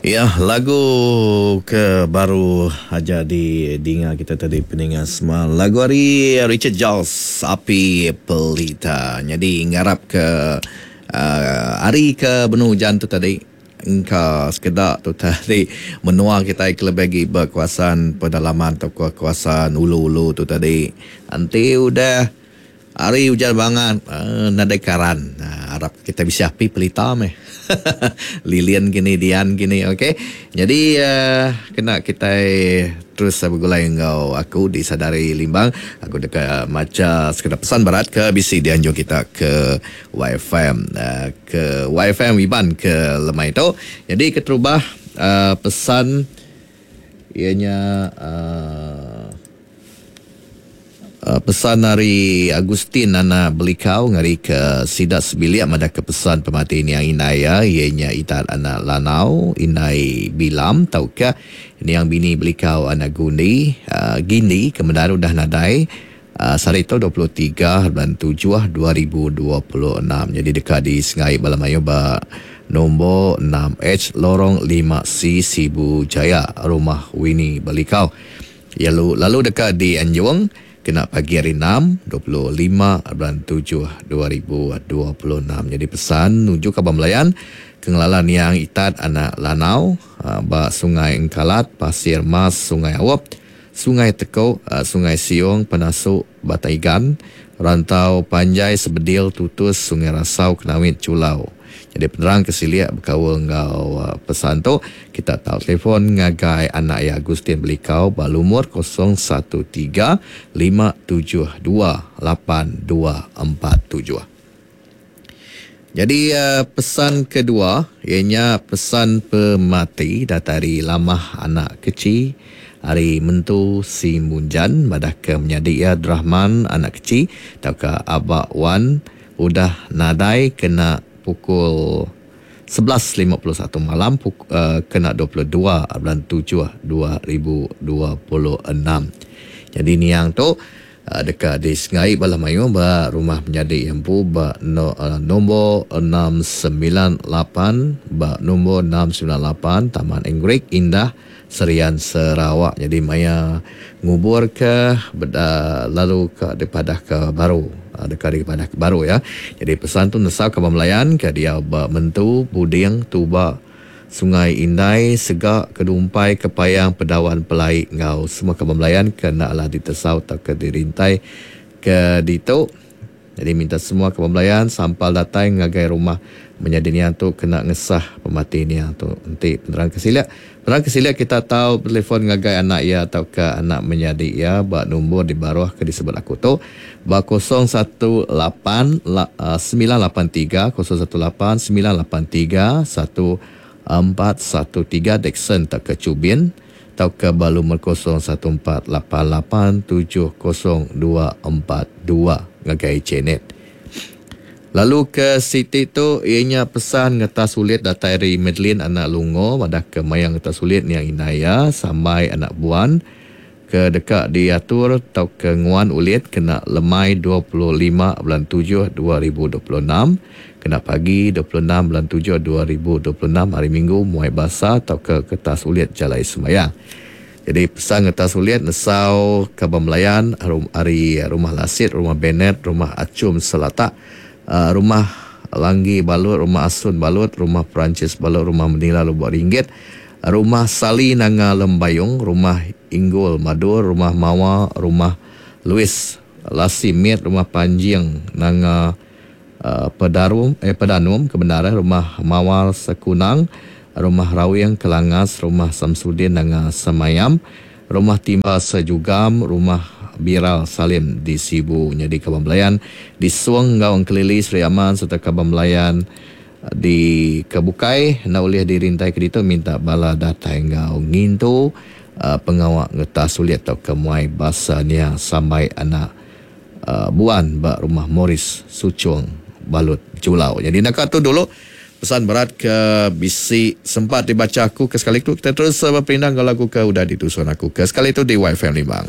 Ya, lagu ke baru aja di dinga kita tadi peninga semua. Lagu ari Richard Giles, Api Pelita. Nyadi ngarap ke uh, hari ke benung ujan tu tadi engka sekeda tu tadi menua kitai ke lebih agi ba kawasan pedalaman tauka kawasan ulu-ulu tu tadi. Enti udah Hari ujan bangat nadai karan. Arap kitai bisi api pelita meh. Lilin kini dian kini ok. Nyadi kena kitai terus begulai enggau aku di Sadari Limbang. Aku deka macha sekeda pesan berat ke bisi dianjung kita ke YFM ke YFM Iban ke lemai tu. Nyadi keterubah pesan iya nya uhh. Pesan ari Agustin anak Belikau ngarika sida sebilik madahka pesan pemati niang indai iya, iya nya Itat anak Lanau, indai Bilam tauka niang bini Belikau anak Gundi, Gindi ke mendar udah nadai sehari tu 23 bulan tujuh 2026. Nyadi deka disengai bala mayuh ba nombor enam H Lorong lima C Sibu Jaya, Rumah Winnie Belikau. Iya lalu deka dianjung kena pagi hari Enam, 25 bulan Tujuh 2026. Nyadi pesan nuju kaban belayan ke ngelala niang Itat anak Lanau ba Sungai Engkalat, Pasir Mas, Sungai Aup, Sungai Teko, Sungai Siong, Penasu, Batang Igan, Rantau Panjai, Sebedil, Tutus, Sungai Rasau, Kenawit, Chulau. Nyadi penerang ke silik bekaul enggau pesan tu, kita tau telefon ngagai anak iya Agustin Belikau ba lumur 013 572 8247. Nyadi pesan kedua iya nya pesan pemati datai ari Lamah anak Kechi ari Mentu Simunjan madahka menyadi iya Drahman anak Kechi tauka Aba Wan udah nadai kena pukul 11.51 malam kena 22 bulan tujuh 2026. Nyadi niang tu deka disengai bala mayuh ba rumah menyadi iya empu ba nombor 698 ba nombor 698 Taman Anggerik Indah Serian Sarawak. Nyadi maya nguburka lalu ka dipadahka baru deka dipadahka baru iya. Nyadi pesan tu nesau kaban belayan ke diau ba Mentu, Buding, Tuba, Sungai Indai, Sega, Kedumpai, Kepayang, Pedawan, Pelai enggau semua kaban belayan ke enda alah ditesau tauka dirintai ke ditu. Nyadi minta semua kaban belayan sampal datai ngagai rumah menyadi niang tu kena ngesah pemati niang tu. Enti penerang ke silik, penerang ke silik kita tau betelefon ngagai anak iya tauka anak menyadi iya ba nombor di baruh ke disebut aku tu ba 018 983 018 983 1413 Dickson tauka Chubin. Tauka ba lumur 0148870242 ngagai Janet. Lalu ke siti tu iya nya pesan ngetas ulit datai ari Madeline anak Lungo madahka maya ngetas ulit niang indai iya Sambai anak Buan ke deka diatur tauka nguan ulit kena lemai 25 bulan tujuh 2026. Kena pagi 26 bulan tujuh 2026 hari Minggu muai basa tauka kertas ulit jalai sembahyang. Jadi pesan kertas ulit nesau kaban belayan ari Rumah Lasit, Rumah Benet, Rumah Achum Selatak, Rumah Langgi Balut, Rumah Asun Balut, Rumah Perancis Balut, Rumah Menila Lubok Ringgit, Rumah Sali Nanga Lembayung, Rumah Inggul Madur, Rumah Mawa, Rumah Louis Lasi Mit, Rumah Panjing Nanga Pedarum eh Pedanum ke bendar eh Rumah Mawar Sekunang, Rumah Rawing Kelangas, Rumah Samsudin Nanga Semayam, Rumah Timba Sejugam, Rumah Biral Salim di Sibu. Nyadi kaban belayan di Song enggau Engkelili Sri Aman sereta kaban belayan di ke bukai enda ulih dirintai ke ditu minta bala datai enggau ngintu pengawa ngetas ulit tauka muai basa niang sambai anak Buan ba Rumah Morris Suchong Balut Julau. Nyadi naka tu dulu pesan berat ke bisi sempat dibacha aku ke sekali tu. Kita terus beperindang enggau lagu ke udah ditusun aku ke sekali tu di YFM Limbang.